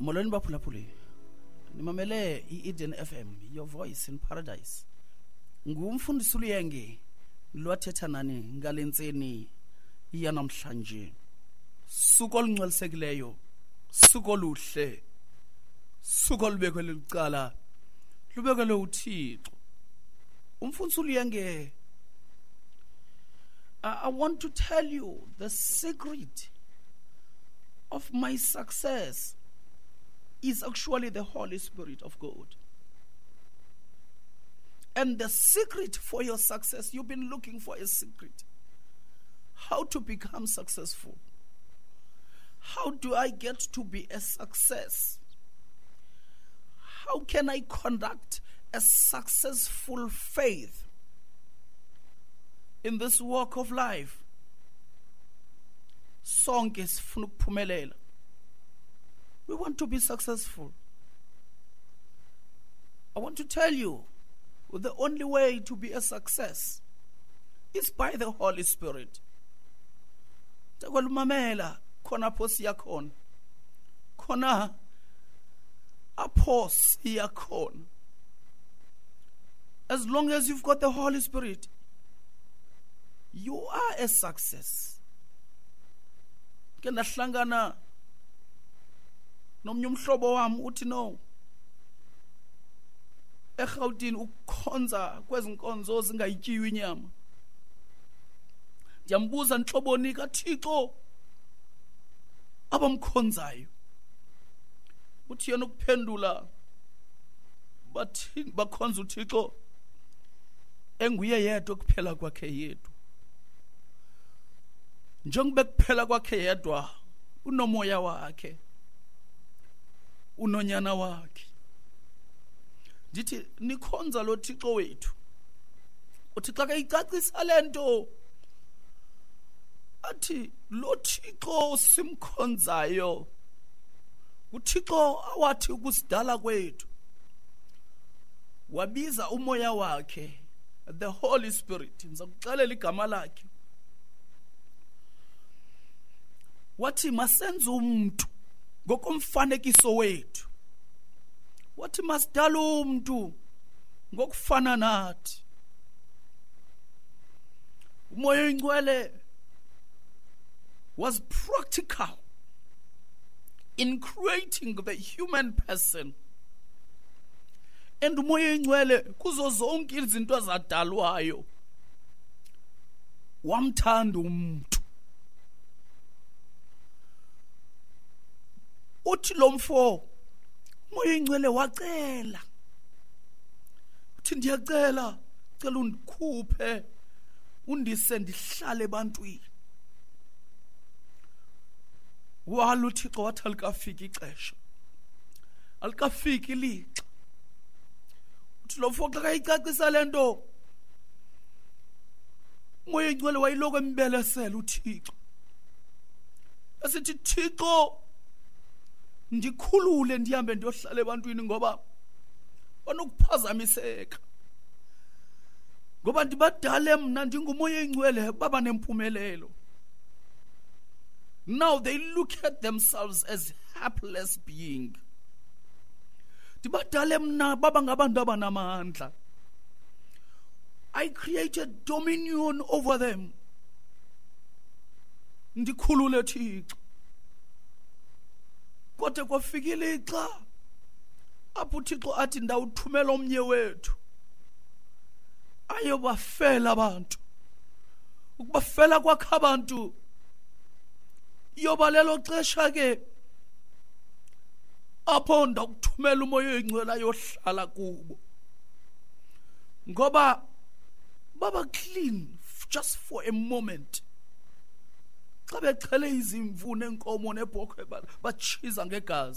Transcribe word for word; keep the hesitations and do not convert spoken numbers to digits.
Molweni baphulaphuli, nimamele i-Eden F M, your voice in paradise. Ngumfundisi uLuyenge lwathetha nani ngale ntseni yanamhlanje. Suku olungcwalisekileyo, suku oluhle, suku olubekelwe licala, lubekelwe uThixo. Umfundisi uLuyenge, I, I want to tell you the secret of my success is actually the Holy Spirit of God. And the secret for your success, you've been looking for a secret. How to become successful? How do I get to be a success? How can I conduct a successful faith in this walk of life? Sonke sifuna ukuphumelela. We want to be successful. I want to tell you, the only way to be a success is by the Holy Spirit. Takwalumamela khona apho siya khona. Khona apho siya khona. As long as you've got the Holy Spirit, you are a success. Ke ndahlangana nomnye umhlobo wam, uthi no, eRhawutini ukukhonza kwezi nkonzo zingayityiwe inyama. Ndiyambuza, ntloboni kaThixo abamkhonzayo? Uthi yena ukuphendula, bathi bakhonza uThixo enguye yedwa, kuphela kwakhe yedwa. Njengoba kuphela kwakhe yedwa, unomoya wakhe, unonyana wakhe. Ndithi nikhonza lo Thixo wethu. Uthi xa kayicacisa lento, athi lo Thixo simkhonzayo, uThixo awathi ukusidala kwethu wabiza umoya wakhe, the Holy Spirit. Ndiza kuxelela igama lakhe. Wathi masenze umuntu ngokomfanekiso wethu. Wathi masidala umuntu ngokufana nathi. Umoya Oyingcwele was practical in creating the human person, and uMoya Oyingcwele kuzo zonke izinto ezadalwayo wamthanda umuntu. Uthi lo mfo, uMoya Oyingcwele wacela, uthi ndiyacela, cela undikhuphe, undise ndihlale ebantwini. Wala uThixo, wathi alikafiki ixesha, alikafiki ilixa. Uthi lo mfo xa kayicacisa le nto, uMoya Oyingcwele wayiloko embelesela uThixo, esithi, "Thixo, ndikhulule ndihambe ndiyohlala ebantwini, ngoba banokuphazamiseka, ngoba ndibadale mna ndinguMoya Oyingcwele, baba nempumelelo. Now they look at themselves as helpless being. Ndibadale mna baba ngabantu abanamandla. I created dominion over them. Ndikhulule, Thixo." Kodwa kwafika ilixa apho uThixo athi ndawuthumela omnye wethu ayobafela abantu. Ukubafela kwakhe abantu yoba lelo xesha ke apho ndakuthumela uMoya Oyingcwele ayohlala kubo, ngoba baba clean just for a moment xa bexhele izimvu nenkomo nebhokhwe, batshiza ngegazi.